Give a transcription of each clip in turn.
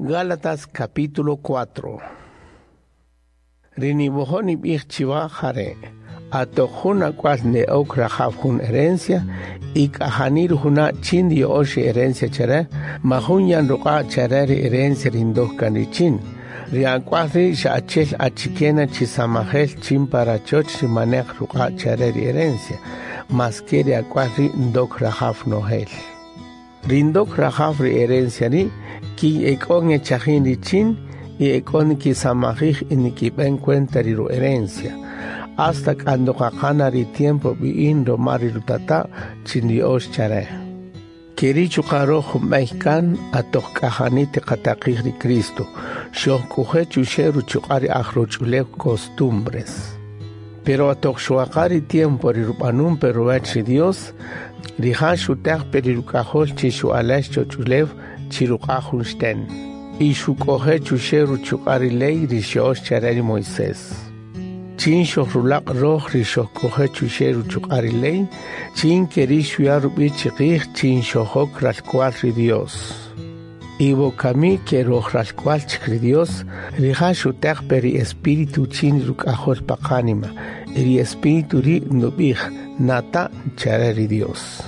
Gálatas capítulo 4. Ri niwojo' nib'ij chiwa jare'. Atoq jun ak'wal ne'ok rajaw jun herencia y k'ajani rujuna' chin riya'ox ri herencia chare, majun yan ruq'a' chare ri herencia ri ndok kan richin. Ri ak'wal ri' xa achel achikena chi samajel chin pa rachoch ri maneq ruq'a' chare ri herencia, maske ri ak'wal ri' ndok rajaw nojel. Ri ndok rajaw ri herencia ri' kin ek'o ngechajin richin y ek'o nikisamajij y nikib'en cuenta ri ru-herencia. Hasta cuando qaqana ri tiempo b'i'in roma ri rutata' chin riya'ox chare. Keri' chuqa' roj junb'ey kan atoq k'ajani tiqataqij ri Cristo, xojk'oje' chuxe' ruchuq'a' ri aj roch'ulew costumbres. Pero atoq xoqaqa ri tiempo ri rub'anun pe ruwech ri Dios, rija' xuteq pe ri ruk'ajol chi xu'alex choch'ulew chi ruq'a' jun xten. Y xuk'oje' chuxe' ruchuq'a' ri ley ri xya'ox chare ri Moisés. Chin xojrulaq' roj ri xojk'oje' chuxe' ruchuq'a' ri ley, chin keri' xuya' rub'i' chiqij chin xojok ralk'wal ri Dios. Y wokami ke roj ralk'wal chik ri Dios, rija' xuteq pe ri Espíritu chin ri ruk'ajol pa qánima, y ri Espíritu ri' nub'ij nata' chare ri Dios.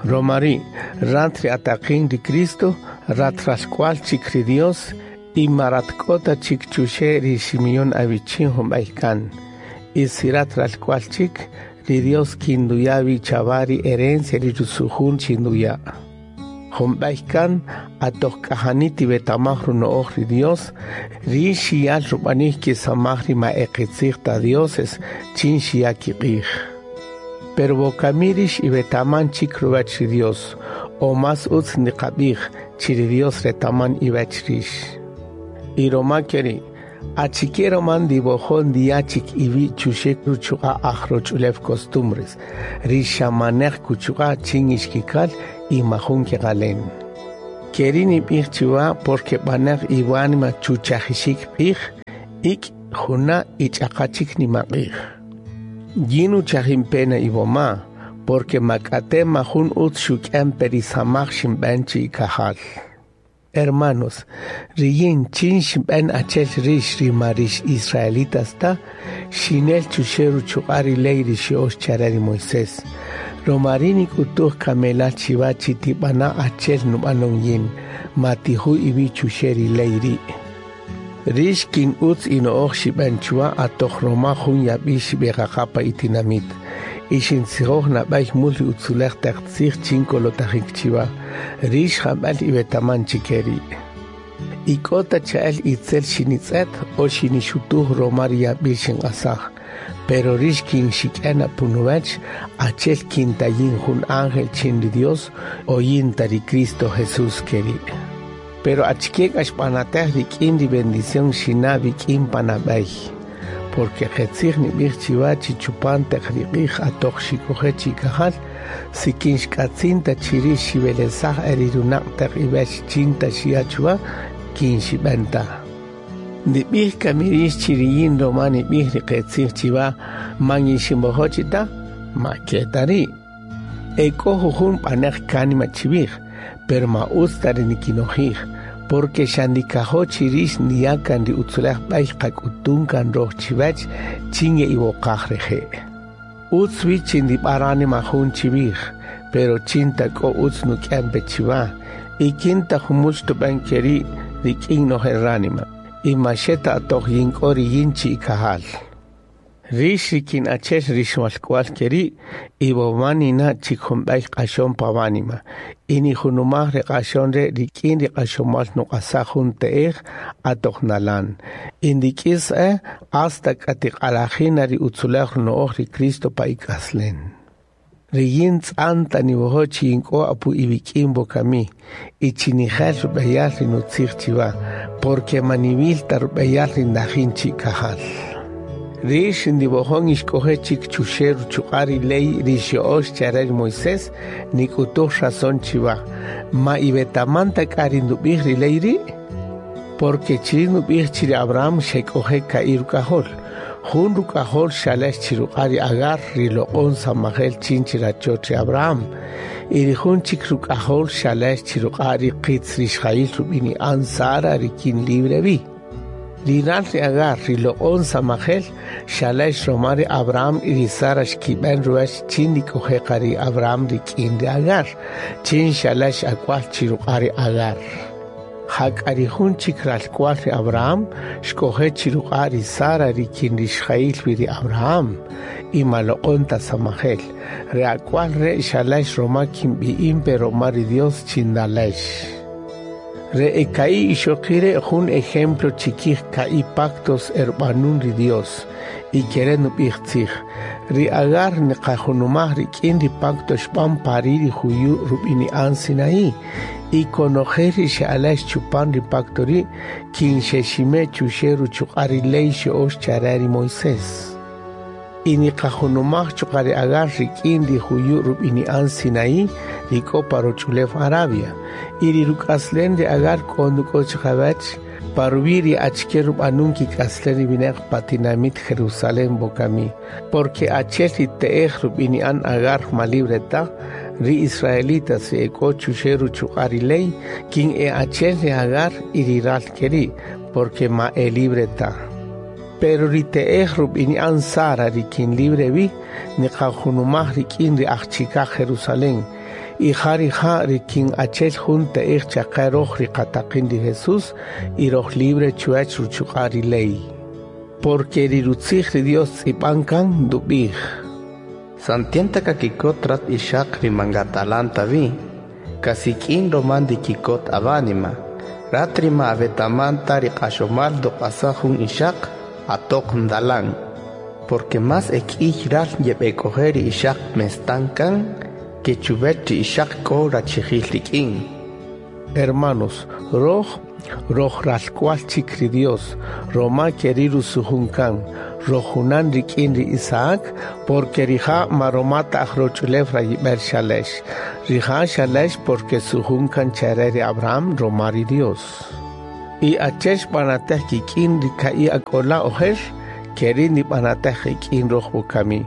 Roma ri' rat ri ataqin ri Cristo, rat ralk'wal chik ri Dios, y ma rat k'o ta chik chuxe' ri ximiyon awichin junb'ey kan. Y si rat ralk'wal chik, ri Dios kinduya' wi chawa ri herencia ri rusujun chinduya'. Junb'ey kan atoq k'ajani tiwetamaj runo'oj ri Dios, ri xiyal rub'anik kisamaj ri ma e qitzij ta dioses chin xiya' kiq'ij. Pero wokami rix iwetaman chik ruwech ri Dios, o más utz niqab'ij chi ri Dios retaman iwech rix. Y roma keri', achike roma ndiwojo' ndiya' chik iwi' chuxe' ruchuq'a' aj roch'ulew costumbres, ri xa maneq kuchuq'a' chin ixkikal y majun keqalen. Keri' nib'ij chiwa porque b'aneq iwánima chuchajixik q'ij, ik' juna' y ch'aqa chik nimaq'ij. Yin uchajin pena iwoma, porque mak'ate majun utz xuk'en pe ri samaj xinb'en chi ikajal. Hermanos, riyin chin xinb'en achel rix ri ma rix israelitas ta, xinel chuxe' ruchuq'a' ri ley ri xya'ox chare ri Moisés. Roma ri' nik'utuj kamelal chiwa chi tib'ana' achel nub'anon yin, ma tiju' iwi' chuxe' ri ley ri'. Rix kin utz ino'oj xib'en chuwa atoq roma jun yab'il xib'eqaqa pa itinamit. Y xintzijoj nab'ey mul ri utzulej taq tzij chin kolotajik chiwa. Rix jab'el iwetaman chike ri'. Y k'o ta cha'el itzel xinitz'et o xinixutuj roma ri yab'il xinq'asaj. Pero rix kin xik'en apunuwech, achel kin ta yin jun ángel chin ri Dios o yin ta ri Cristo Jesús keri'. Pero achike k'a xb'anatej rik'in ri bendición xina' wik'in panab'ey. Porque qetzij nib'ij chiwa chi chupan taq ri q'ij atoq xik'oje' chikajal, si kin xk'atzin ta chi rix xiwelesaj e ri runaq' taq iwech chin ta xiya' chuwa, kin xib'en ta. Ndib'ij kami rix chi riyin roma nib'ij ri qetzij chiwa man yixinwojo' chi ta, ma ke ta ri'. Ek'o jujun b'aneq kánima chiwij, pero ma utz ta ri nikinojij, porque xa ndikajo' chi rix ndiya' kan ri utzulej b'ey qak'utun kan roj chiwech chin ye'iwoqaj reje'. Utz wi chi ndib'a ránima jun chiwij, pero chin ta k'o utz nuk'en pe chiwa, y kin ta jumul xtub'en keri' rik'in nojel ránima, y ma xe ta atoq yin k'o riyin chi ikajal. Rix ri kin achel rix walk'wal keri', y woma nina' chik junb'ey q'axon pa wánima, y nijunumaj ri q'axon re' rik'in ri q'axomal nuq'asaj jun te'ej atoq nalan. Y ndik'is e hasta k'a tiq'alajina ri utzulej runo'oj ri Cristo pa ik'aslen. Riyin tz'an ta niwojo' chi yink'o apu iwik'in wokami, y chi nijel rub'eyal ri nutzij chiwa, porque ma niwil ta rub'eyal ri ndajin chi ikajal. Rix ndiwojon ixk'oje' chik chuxe' ruchuq'a' ri ley ri xya'ox chare ri Moisés, nik'utuj razón chiwa. Ma iwetaman ta k'a ri ndub'ij ri ley ri'? Porque chiri' nub'ij chi ri Abraham xek'oje' ka'i' ruk'ajol. Jun ruk'ajol xalex chi ruq'a' ri Agar ri loq'on samajel chin chi rachoch ri Abraham. Y ri jun chik ruk'ajol xalex chi ruq'a' ri qitz rixjayil rub'ini'an Sara ri kin libre vi. Ri ral ri Agar ri loq'on samajel xalex roma ri Abraham y ri Sara xkib'en ruwech chin ndik'oje' ri Abraham rik'in ri Agar, chin xalex ak'wal chi ruq'a' ri Agar. Jak'a ri jun chik ralk'wal ri Abraham xk'oje' chi ruq'a' ri Sara ri kin rixjayil wi ri Abraham y ma loq'on ta samajel. Ri ak'wal re' xalex roma kin b'i'in pe roma ri Dios chin ndalex. Re eka'i ixoqi' re' jun ejemplo chikij ka'i pactos erb'anun ri Dios y kere' nub'ij tzij. Ri Agar niqajunumaj rik'in ri pacto xb'an pari ri juyu' rub'ini'an Sinaí y konojel ri xe'alex chupan ri pacto ri' kin xexime' chuxe' ruchuq'a' ri ley xe'ox chare ri Moisés. Y niqajunumaj chuqa' ri Agar rik'in ri juyu' rub'ini'an Sinaí ri k'o pa roch'ulew Arabia. Y ri ruk'aslen ri Agar k'o nduk'o chiqawech pa ruwi' ri achike rub'anun kik'aslen ri winaq pa tinamit Jerusalén wokami. Porque achel ri te'ej rub'ini'an Agar ma libre ta, ri israelitas ri ek'o chuxe' ruchuq'a' ri ley, kin e achel ri Agar y ri ral keri', porque ma e libre ta. Pero ri te'ej rub'ini'an Sara ri kin libre vi, niqajunumaj rik'in ri aj chikaj Jerusalén. Y ja rija' ri kin achel jun te'ej chaqe roj ri qataqin ri Jesús y roj libre chuwech ruchuq'a' ri ley. Porque ri rutzij ri Dios tz'ib'an kan ndub'ij. Santienta kakikot rat ixaq ri mangatalanta vi, kasik'in roman dikikot avánima, rat ri ma avetamanta ri q'axomal doq'asaj jun ixaq atoq ndalan. Porque más ek'iy ral yeb'ek'oje ri ixaq mestan kan que chuwech ri ixaq k'o rachijil rik'in. Hermanos, roj roj ralk'wal chik ri Dios, roma keri rusujun kan, roj junan rik'in ri Isaac, porque rija' ma roma ta aj roch'ulew rayib'el xalex. Rija' xalex porque sujun kan chare ri Abraham roma ri Dios. Y achel xb'anatej kik'in ri ka'i ak'ola' ojer, keri nib'anatej rik'in roj wokami.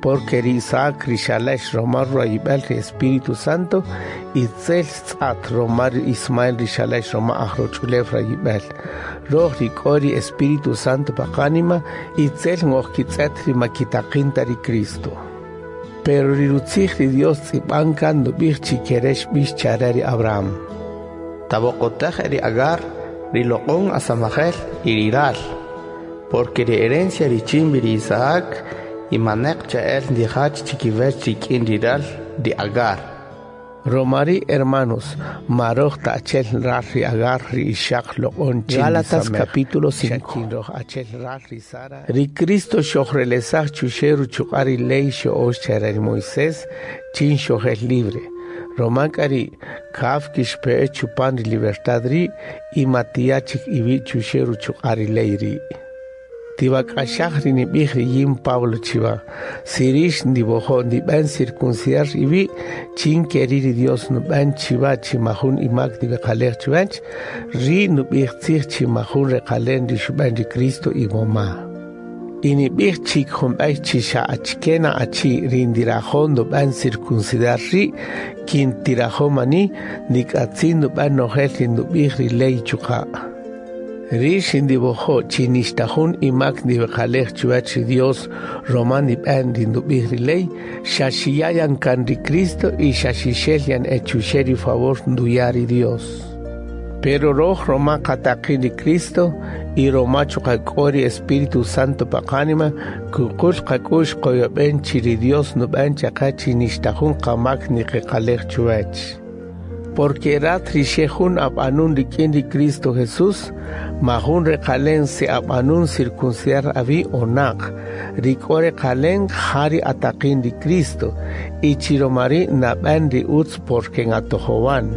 Porque ri Isaac ri xalex roma rayib'el ri Espíritu Santo, itzel tz'at roma ri Ismael ri xalex roma aj roch'ulew rayib'el. Roj ri k'o ri Espíritu Santo pa qánima, itzel ngojkitz'et ri makitaqin ta ri Cristo. Pero ri rutzij ri Dios tz'ib'an kan ndub'ij chi kere xb'ix chare ri Abraham. Taboqotaj ri Agar, ri loq'on asamajel y ri ral, porque ri herencia richin ri Isaac y maneq cha'el ndijach chikiwech rik'in ri ral ri Agar. Romari hermanos, maroj ta achel ral ri Agar ri ixaq loq'on chin Gálatas capítulo 5. Ri Cristo xojrelesaj chuxe ruchuq'a' ri ley xe'ox chare ri Moisés chin xojel libre. Roma k'ari kaf kixpe'e chupan ri libertad ri' y matiya chik iwi' chuxe ruchuq'a' ri ley ri'. Tiwak'axaj ri nib'ij ri yin Pablo chiwa, si rix ndiwojo' ndib'en circuncidar iwi' chin keri ri Dios nub'en chiwa chi majun imak ndiweqalej chiwech, ri nub'ij tzij chi majun reqalen ri xub'en ri Cristo iwoma. Y nib'ij chik jun b'ey chi xa achike na achi ri ndirajo' ndub'en circuncidar ri' kin tirajo' mani ndik'atzin ndub'en nojel ri ndub'ij ri ley chuqa'. Rix ndiwojo' chi nixta jun imak ndiweqalej chuwach ri Dios roma ndib'en ri ndub'ij ri ley, xa xiya' kan ri Cristo y xa xixel yan e chuxe' ri favor nduya' ri Dios. Pero roj roma qataqin ri Cristo y roma chuqa' k'o ri Espíritu Santo pa qánima, kuqul qak'u'x qoyob'en chi ri Dios nub'en chaqe chi nixta jun qamak niqeqalej chuwach. Porque rat ri xe jun ab'anun rik'in ri Cristo Jesús, ma jun reqalen si ab'anun circuncidar awi' o naq, ri k'o reqalen ja ri ataqin ri Cristo, y chi roma ri' nab'en ri utz porque ngatojowan.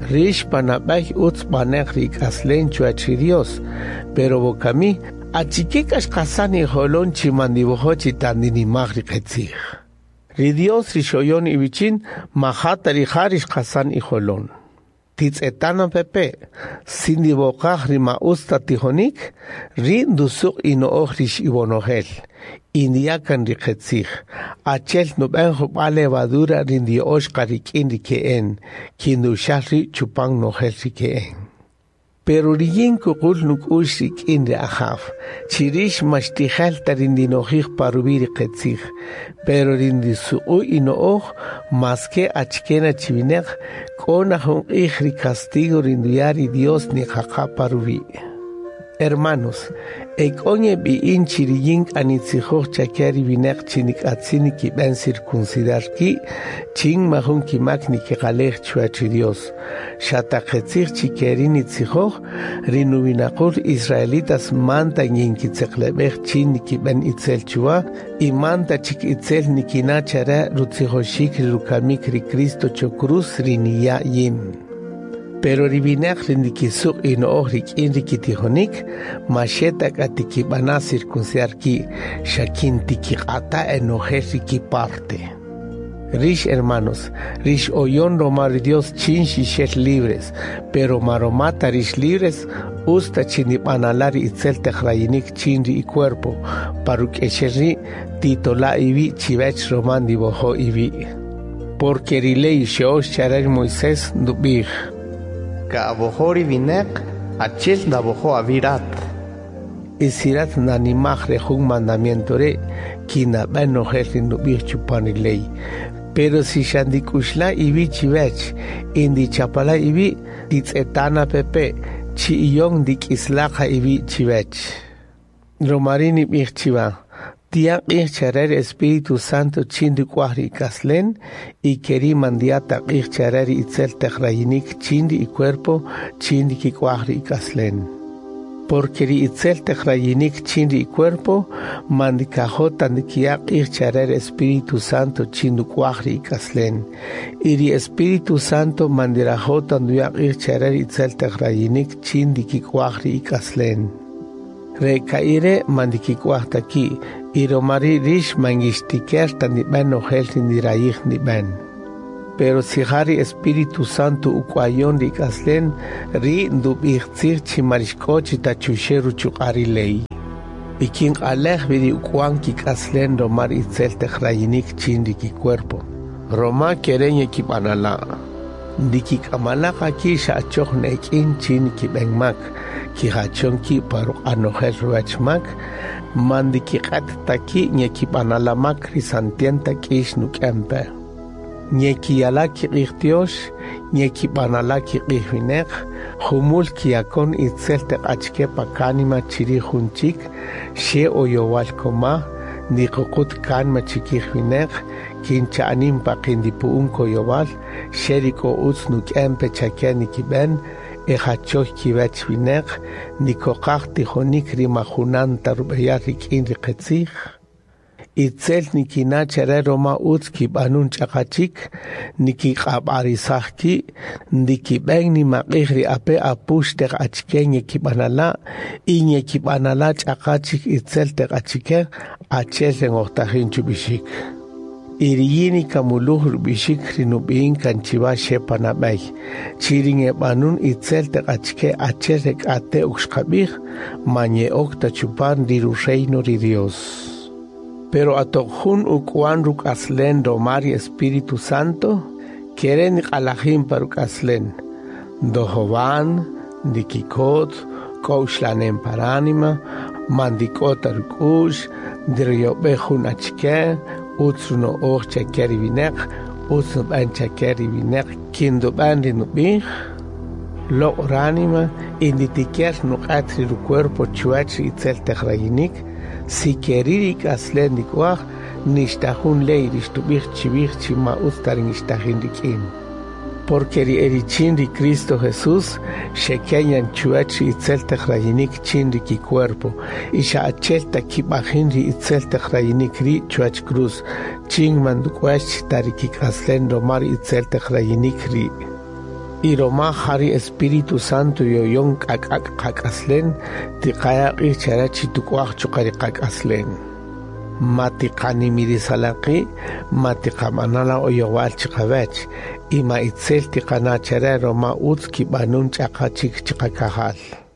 Rix panab'ey utz b'anej ri k'aslen chuwach ri Dios, pero wokami, achike k'a xqasan ijolon chi mandiwojo' chi tan ndinimaj ri qetzij. Ri Dios ri xoyon iwichin, majata ri ja ri xqasan ijolon. Titz'etana pepe, si ndiwoqaj ri ma utz ta tijonik, ri' ndusuq' ino'oj rix iwonojel, y ndiya' kan ri qetzij. Achel nub'en jub'a' levadura ri ndiyo'ox qa rik'in ri ke'en, kin nduxal ri' chupan nojel ri ke'en. Pero riyin kuqul nuk'u'x rik'in ri Ajaw, chi rix ma xtijel ta ri ndinojij pa ruwi' ri qetzij, pero ri ndisuq'u ino'oj maske achike na chi wineq, k'o na jun q'ij ri castigo ri nduya' ri Dios niqaqa pa ruwi'. Hermanos, e k'o ngeb'i'in chi riyin k'a nitzijoj chake ri wineq chi nik'atzin nikib'en circuncidar ki' chin majun kimak nikiqalej chuwach ri Dios. Xa ta qetzij chi keri' nitzijoj, ri nuwinaqul israelitas manta yinkitzeqleb'ej chin nikib'en itzel chuwa y manta chik itzel nikina' chare rutzijoxik ri rukamik ri Cristo cho cruz ri niya' yin. Pero ri wineq ri ndikisuq' ino'oj rik'in ri kitijonik, ma xe ta k'a tikib'ana' circuncidar ki', xa kin tikiq'ata' enojel ri kiparte. Rix hermanos, rix oyon roma ri Dios chin xixel libres, pero ma roma ta rix libres, utz ta chi nib'anala' ri itzel taq rayinik chin ri icuerpo, pa ruk'exel ri' titola' iwi' chiwech roma ndiwojo' iwi'. Porque ri ley xyo'ox chare ri Moisés ndub'ij: Ka'awojo' ri wineq achel ndawojo' awi' rat. Y si rat nanimaj re jun mandamiento re', kinab'en nojel ri ndub'ij chupan ri ley. Pero si xa ndik'uxla' iwi' chiwech y ndichapala' iwi', titz'etana pepe, chi iyon ndik'isla' qa iwi' chiwech. Roma ri' nib'ij chiwa, tiya' q'ij chare ri Espíritu Santo chin nduk'uaj ri ik'aslen y keri' man ndiya' ta q'ij chare ri itzel taq rayinik chin ri icuerpo chin ndikik'uaj ri ik'aslen. Porque ri itzel taq rayinik chin ri icuerpo man ndikajo' ta ndikiya' q'ij chare ri Espíritu Santo chin nduk'uaj ri ik'aslen. Y ri Espíritu Santo man ndirajo' ta nduya' q'ij chare ri itzel taq rayinik chin ndikik'uaj ri ik'aslen. Re ka'i re' man ndikik'uaj ta ki', y roma ri' rix man ngixtiker ta ndib'en nojel ri ndirayij ndib'en. Pero si ja ri Espíritu Santo uk'uayon ri ik'aslen, ri' ndub'ij tzij chi ma rixk'o chi ta chuxe' ruchuq'a' ri ley. Y kin q'alej wi ri uk'uan kik'aslen roma ri itzel taq rayinik chin ri kicuerpo. Roma kere' ngekib'anala'. Ndikik'amala' qa ki' xa achoj ne'ek'in chin nikib'en mak, kijachon ki' pa ruq'a' nojel ruwach mak, man ndikiq'et ta ki' ngekib'anala' mak ri santienta k'ix nuk'en pe. Ngekiyala' kiq'ij Tiox, ngekib'anala' kiq'ij wineq, jumul kiyakon itzel taq achike pa kánima chirij jun chik, xe oyowal koma, ndiququt kánima chikij wineq, kin cha'anin paqi' ndipu'un koyowal, xe ri k'o utz nuk'en pe chake nikib'en, ejachoy kiwech wineq, ndikoqaj tijonik ri ma junan ta rub'eyal rik'in ri qetzij. Itzel nikina' chare roma utz kib'anun ch'aqa chik, nikiq'ab'arisaj ki', ndikib'en nimaq'ij ri ape' apux taq achike ngekib'anala' y ngekib'anala' ch'aqa chik itzel taq achike achel ri ngojtajin chub'ixik. Y riyin nikamuluj rub'ixik ri nub'i'in kan chiwa xe panab'ey, chi ri ngeb'anun itzel taq achike achel ri k'ate' ok xqab'ij, ma nye'ok ta chupan ri ru-reino ri Dios. Pero atoq jun uk'uan ruk'aslen roma ri Espíritu Santo, kere' niq'alajin pa ruk'aslen. Ndojowan, ndikikot, k'o uxlanem pa ránima, man ndik'o ta ruk'u'x, ndiroyob'ej jun achike, utz runo'oj chake ri wineq, utz nub'en chake ri wineq kin ndub'en ri nub'ij, loq' ránima y nditiker nuq'et ri rucuerpo chuwach ri itzel taq rayinik, si keri' ri ik'aslen ndik'uaj, nixta jun ley ri xtub'ij chiwij chi ma utz ta ri ngixtajin rik'in. Porque ri erichin ri Cristo Jesús xekenyan chuwach ri itzel taq rayinik chin ri kicuerpo, y xa achel ta kib'ajin ri itzel taq rayinik ri' chuwach cruz, chin man nduk'uex ta ri kik'aslen roma ri itzel taq rayinik ri'. Y roma ja ri Espíritu Santo yoyon k'ak'ak' qak'aslen, tiqaya' q'ij chare chi tuk'uaj chuqa' ri qak'aslen. Ma tiqanimirisala' qi', ma tiqab'anala' oyowal chiqawech, Y ma itzel tiqana' chare roma utz kib'anun ch'aqa chik chiqakajal.